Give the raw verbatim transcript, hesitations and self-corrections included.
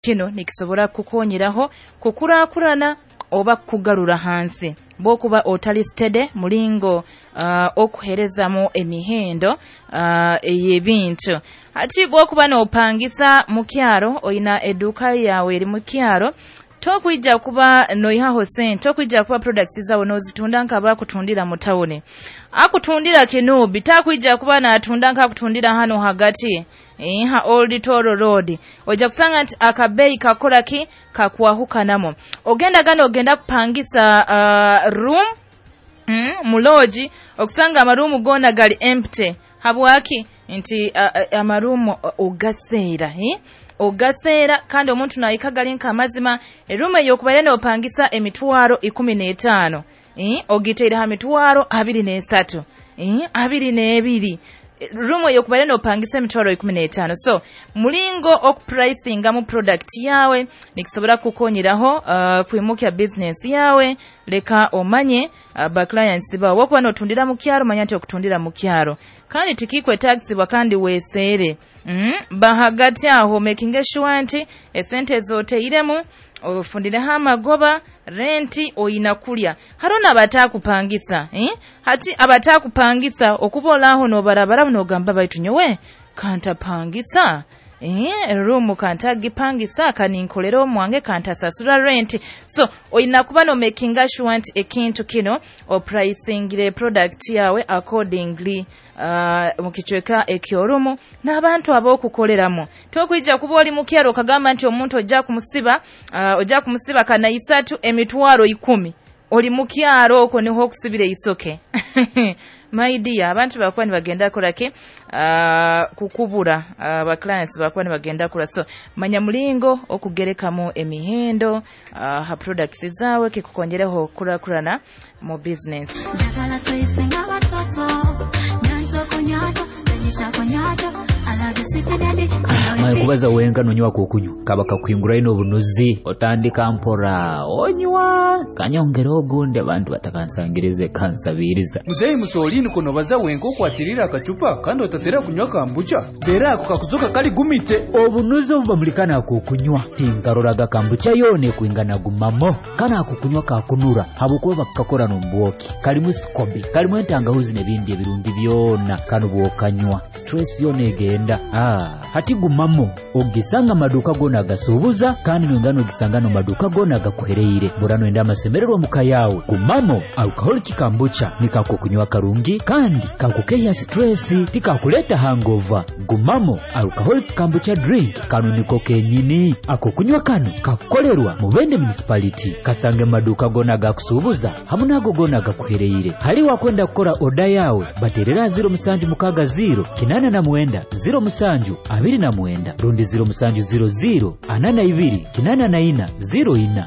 Kino nikisobora kukonyeraho kukurakurana oba kugarura hansi bwokuba otali steady mulingo uh, okuherezamu emihendo uh, ey'ebintu. Hati bwokuba nopangisa mu kyaro, oyina eduka yawe eri mu kyaro, tokwija kuba noihaho sente, tokwija kuba products zawe nozitunda nk'abakutundira mu tawuni. Akutundira kinubi takwija kuba natunda nk'akutundira hano hagati ha Old Toro Road. Ojja kusanga nti akabeeyi kakola ki kakwahukanamo. Ogenda gano ogenda kupangisa uh, room mm, mu lodge, okusanga amaruumu gona gali empty. Habwaki? Nti uh, amaruumu ogaseera eh? Ogaseera kandi omuntu nayika gali nk'amazima. Eruumu eyokubaire nopangisa emitwaro ikumi n'etaano eh? Ogiteire ha mitwaro abiri n'esatu eh? abiri n'ebiri. Rumu eyokubaire nopangisa emitwaro ikumi n'etaano. So mulingo okupricingamu product yawe nikisobora kukonyeraho uh, kwimukya business yawe. Leka omanye uh, ba clients bawe. Wokuba notundira mu kyaro, manya nti okutundira mu kyaro kandi tikikwetagisibwa kandi weseere mm? Bahagati aho making sure nti esente zoteiremu ofundireho amagoba, renti oyina kulya. Hariho n'abatakupangisa eh? Hati abatakupangisa okuba olaho nobarabara nogamba baitu nyowe kantapangisa eh, ruumu kantagipangisa kaninkolera omwange kantasasura renti. So oyina kuba no making sure nti ekintu kino opricingire product yawe accordingly uh, mu kicweka ekyorumu n'abantu ab'okukoleramu. Tokwija kuba oli mu kyaro okagamba nti omuntu ojja kumusiba uh, ojja kumusiba kana isatu emitwaro ikumi. Oli mu kyaro okwo niho okusibira eisoke. My dear, abantu bakuba nibagenda kola ki uh, kukubura uh, ba clients bakuba nibagenda kula. So manya mulingo okugerekamu emihendo uh, ha products zawe kikukonjereho kurakurana mu business. Njagala tuyise ng'abatoto, nyanto kunyato, Maye kubaza wenka nonywa kukunywa kaba kakuhingura ino obunuzi otandika mpora onywa kanyongera ogundi abantu batakansangirize kansabiriza. Muzeyi Musolini kuno baza wenka okwatirira akacupa kandi otatera kunywa kambucha dera ako kakuzoka kali gumite. Obunuzi obubamulikana akukunywa tinkaroraga kambucha yone kwingana gumamo kana akukunywa kakunura habukuba bakakora n'ombwoki kalimu sikobi kalimu entangahuzi n'ebindi ebirungi byona kano bwokanywa stress yone egenda. Ah, hati gumamo ogisanga maduka gona agasubuza kandi nongano ogisanga no maduka gona agakuhereire burano enda amasemererwa muka yawe. Gumamo alcoholic kambucha nikako kunywa karungi kandi kakukeya stress tikakuleta hangover. Gumamo alcoholic kambucha drink kano niko kenyini ako kunywa kano kakukolerwa Mubende municipality kasange maduka gona agakusubuza hamu nago gona agakuhereire. Hali wakwenda kukora oda yawe baterera ziro musanju mukaga ziro kinana na mwenda ziro musanju abiri na mwenda rundi ziro musanju ziro ziro anana ibiri kinana na ina ziro ina.